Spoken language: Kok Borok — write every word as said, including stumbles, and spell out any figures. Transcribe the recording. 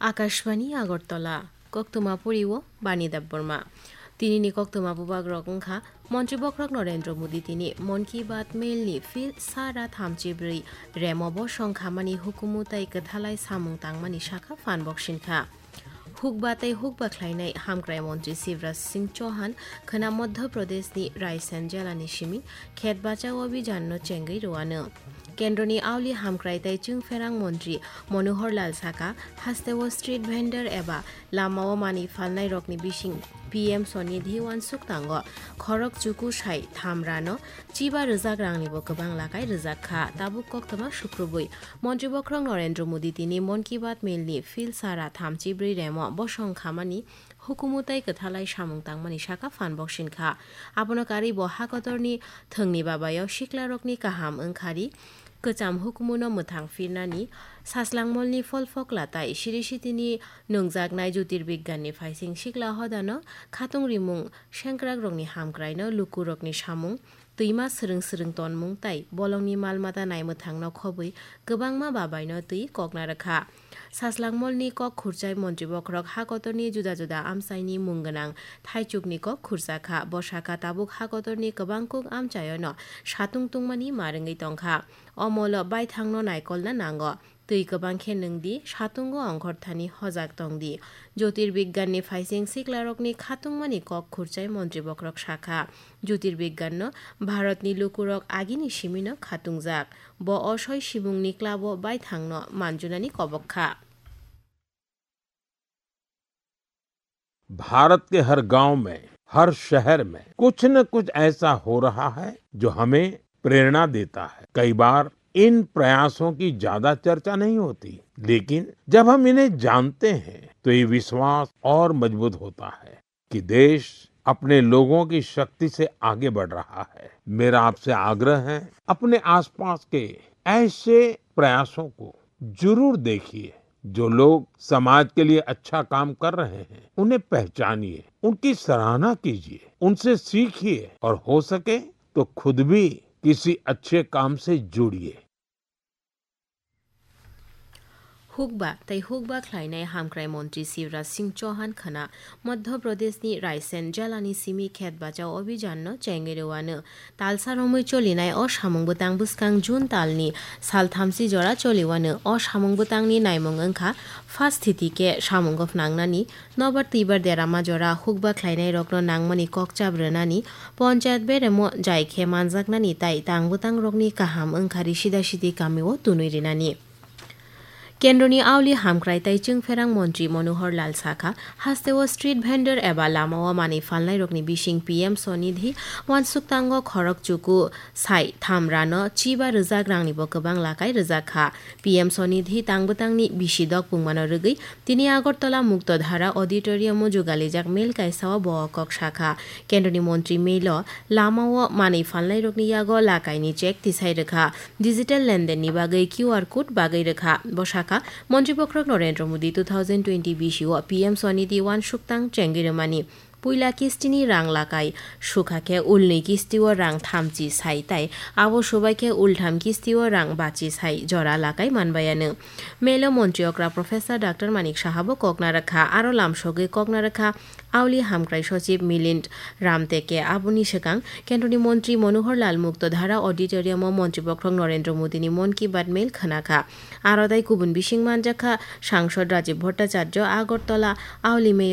Akashbani Agartala, koktwma poriwo Bani Debbarma. Tinini koktwma bubagrok wngkha, Montri Bokhorok Narendra Modi tini Mon Ki Baat Mail ni phil sara thamchi brwi remo bosong khamani hukumu tei kwthalai samung tangmani sakha phan boksin kha. Hukba tei hukba khlainai Hamkrai Montri Shivraj Singh Chauhan khwna Madhya Pradesh ni Raisen jela ni simi khet bachao abhijan no chengwi rwano. Kendroni auli hamkrai tei chwngpherang montri Manohar Lal saka, hasteo street vendor eba lamao manwi phalnairokni bising P M Swanidhi uansuk tango. Khorok chuku sai tham rano chiba rwjak rangnibo kwbang lakai rwjak kha. Tabuk koktwma sukrubwi Montri Bokhorok Narendra Modi tini Mon Ki Baat Mail ni phil sara thamchi brwi remo bosong khamani hukumu tei kwthalai samung tangmani sakha phan boksin kha. Abono karwi bo hakotorni thwngni babayo siklarokni kaham wngkhari kwcham hukumuno mwthang phirnani, Saslangmolni pholphokla tai siri sitini nungjaknai Jyotirbigyani phaising sikla hodano khatung rimung sengkrakrokni hamkraino lukurokni samung twima swrwng swrwng tonmung tei bolongni mal mata naimwthangno khobwi kwbangma babaino twi kokna rwkha. Saslangmolni kok khurchai Montri Bokhorok hakotorni juda juda amchaini mung gwnang thaichukni kok khurchakha. Bo sakha tabuk hakotorni kwbangkuk amchaiono satung tungmani ma rwngwi tongkha. O molo baithangno naikolna nango. Twi kwbang khe nwng di, satungo ongkhorthani hojak tong di. Jyotirbigyani phaising siklarokni khatungmani kok khurchai Montri Bokhorok sakha, Jyotirbigyano Bharatni lukurok agini simino khatungjak. Bo o soi simungni klabo baithangno manjunani kobok kha. Bharat के हर गांव में, हर शहर में कुछ न कुछ ऐसा हो रहा है जो हमें प्रेरणा देता है। कई बार इन प्रयासों की ज्यादा चर्चा नहीं होती, लेकिन जब हम इन्हें जानते हैं तो ये विश्वास और मजबूत होता है कि देश अपने लोगों की शक्ति से आगे बढ़ रहा है। मेरा आपसे आग्रह है, अपने आसपास के ऐसे प्रयासों को जरूर देखिए। जो लोग समाज के लिए अच्छा काम कर रहे हैं, उन्हें पहचानिए, उनकी सराहना कीजिए, उनसे सीखिए और हो सके तो खुद भी किसी अच्छे काम से जुड़िए। Hukba tei hukba khlainai hamkrai montri Shivraj Singh Chauhan khwna Madhya Pradeshni Raisen jalani simi khet bachao abhijanno chengwi rwano. Talsa romwi cholinai o samung bwtang bwskang June talni sal thamchi jora choliwano. O samung bwtangni naimung wngkha, phasthiti khe samungo phnangnani, nobar twibar derama jora hukba khlainairokno nangmani kokchap rwnani, ponchayat beremo jai khe manjaknani tai tang bwtangrokni kaham wngkhari sida sidi kamio tunwi rinani. Kendroni auli hamkrai tai chwngpherang montri Manohar Lal sakha, hasteo street vendor eba lamao manwi phalnairokni bising P M Swanidhi uansuktango khorok chuku sai tham rano chiba rwjak rangnibo kwbang lakai rwjak kha. P M Swanidhi tang bwtangni bisi dok pungmano rwgwi tini Agartala Muktodhara Auditorium-o jugalijak mel kaisao bo o kok sakha. Kendroni montri melo lamao manwi phalnairokni yago lakaini check tisai rwkha. Digital lendenni bagwi Q R code bagwi rwkha. Bo sakha, Montri Bokhorok Narendra Modi two thousand twenty bisi o P M Swanidhi uansukthang chengwi rwmani puila kistini rang lakai sukha khe ulnwi kistio rang thamchi sai tai abo subai khe ultham kistio rang bachi sai jora lakai manbayano. Melo montri okra Professor Doctor Manik Saha bo kokna rwkha, aro lamsogwi kokna rwkha Auli Hamkrai Sochib Milind Ramteke. Aboni swkang Kendroni Montri Manohar Lal Mukto Dhara Auditorium-o Montri Bokhorok Narendra Modini Mon Ki Baat Mail khwnakha. Aro tai kubun bising manjakha Sangsod Rajiv Bhattacharya, Agartala, Auli Mail